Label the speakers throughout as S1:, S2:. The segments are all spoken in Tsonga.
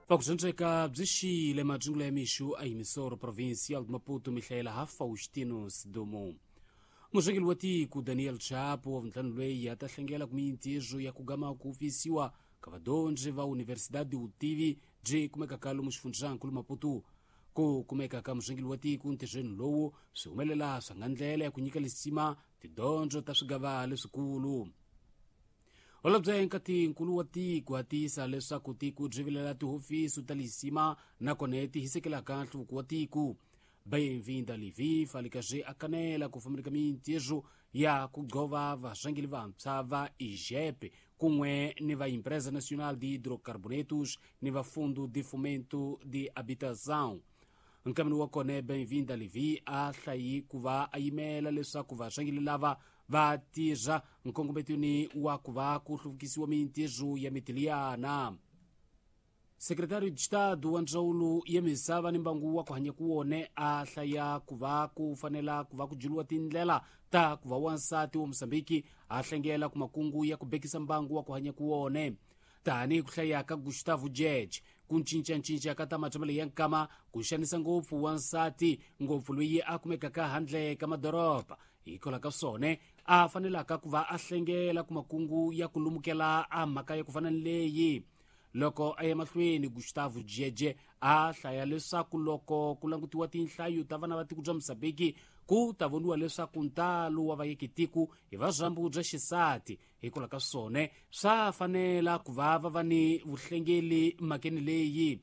S1: Vakudzondzeka byi xile madzungula ya mixu a Emissora Provincial de Maputo mihlayela ha Faustino Sidumo. Murhangeri wa tiko Daniel Chapo wa vuntlhanu loyi a ta hlengela ku mintirho ya ku gama ku pfisiwa ka vadyondzi va Universidade Vutivi byi kumekaka lomu xifundzankulu Maputo. Ku kumeka ka murhangeri wa tiko ntirhweni lowu swi humelela swa nga ndlela ya ku nyika lisima tidyondzo ta swigava leswikulu. Holobye nkatinkulu wa tiko a tiyisa leswaku tiko byi vilela tihofisi ta lisima nakona ti hisekelaka nhluvuko wa tiko. Benvinda Levi falikazi a kanela ku fambeleka mintirho ya ku gqova varhangeri vantshwa va IGEP kun'we ni va Empresa Nacional de Hidrocarbonetos ni va Fundo de Fomento de Habitação. Nkameni wa kona Benvinda Levi a hlayi ku va a yimela leswaku varhangeri lava va tirha nkongometweni wa ku va ku hluvukisiwa mintirho ya mitiliyana. Secretário de Estado wa ndzawulo ya misava ni mbangu wa ku hanya ku wone a hlaya ku va ku fanela ku va ku juliwa tindlela ta ku va wansati wa Mosambiki a hlengela ku makungu ya ku bekisa mbangu wa ku hanya ku wone. Tanihi ku hlaya ka Gustavo Jeje, ku cincacinca ka ta matshamelo ya nkama ku xanisa ngopfu wansati ngopfu loyi a kumekaka handle ka madoroba hikwalaho ka swona a fanelaka ku va a hlengela ku makungu ya ku lumukela a mhaka ya ku fana ni leyi. Loko a ya mahlweni Gustavo Jeje a hlaya leswaku loko ku langutiwa tinhlayo ta vana va tiko bya Mosambiki ku ta voniwa leswaku ntalo wa vayekitiko hi va byambu bya xisati hikwalaho ka swona swa fanela ku va va va ni vuhlengeli mhakeni leyi.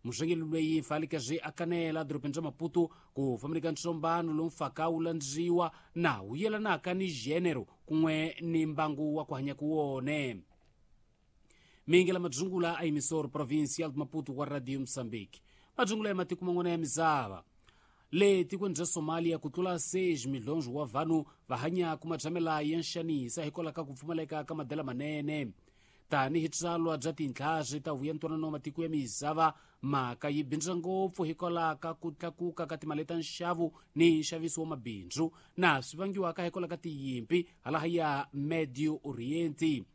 S1: Murhangeri loyi falikazi a kanela dorobeni ra Maputo ku fambeleka ntsombano lowu mfaka wu landziwa na wu yelanaka ni gênero kun'we ni mbangu wa ku hanya ku wone. Mingela madzungula a Emissora Provincial de Maputo wa Radio Mozambique. Madzungula ya matiko man'wana ya misava. Le tikweni bya Somalia ku tlula 6 milhonjo wa vanhu va hanya ku matshamela ya nxanisa hikwalaho ka ku pfumaleka ka madela manene. Tanihi tsalwa bya tintlhari ta vuya ntwanano wa matiko ya misava mhaka yi bindza ngopfu hikwalaho ka ku tlakuka ka timali ta nxavo ni nxaviso wa mabindzu na swi vangiwaka hikwalaho ka tiyimpi halaha ya Medio Oriente.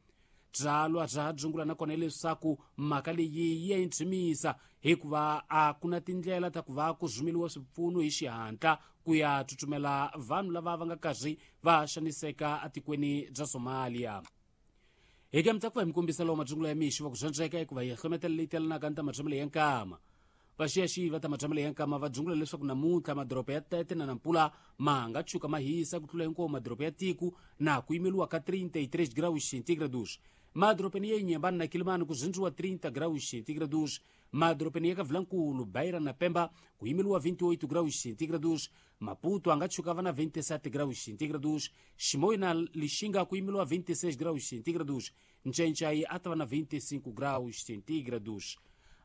S1: Byalwa bya dzungula nakona leswaku mhaka leyi yi ya intshimisa hikuva a ku na tindlela ta ku va ku rhumeriwa swipfuno hi xihatla ku ya tsutsumela vanhu lava va nga karhi va xaniseka etikweni bya Somalia. Hi ka mitsaku va hi mi kombisa lowu madzungula ya mixo va ku dzondzeka hikuva hi hlometela leyi telanaka ni ta matshamelo ya nkama. Vaxiyaxiyi va ta matshamelo ya nkama va dzungula leswaku namuntlha madoroba ya Tete na Nampula ma nga tshuka ma hisa ku tlula hinkwawo madoroba ya tiko na ku yimeriwa ka 33 graus centígrados. Madorobeni ya Inhambane na Quelimane ku zindziwa 30 graus centígrados. Madorobeni ya Kavilankulu, Beira na Pemba ku yimeriwa 28 graus centígrados. Maputo a nga tshuka va na 27 graus centígrados. Chimoio na Lixinga ku yimeriwa 26 graus centígrados. Ncencai a ta va na 25 graus centígrados.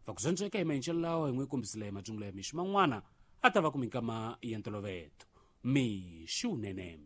S1: Vakudzondzeka hi maendlelo lawa hi n'wi kombisile madzungula ya mixo man'wana a ta va ku minkama ya ntoloveto. Mixo wunene.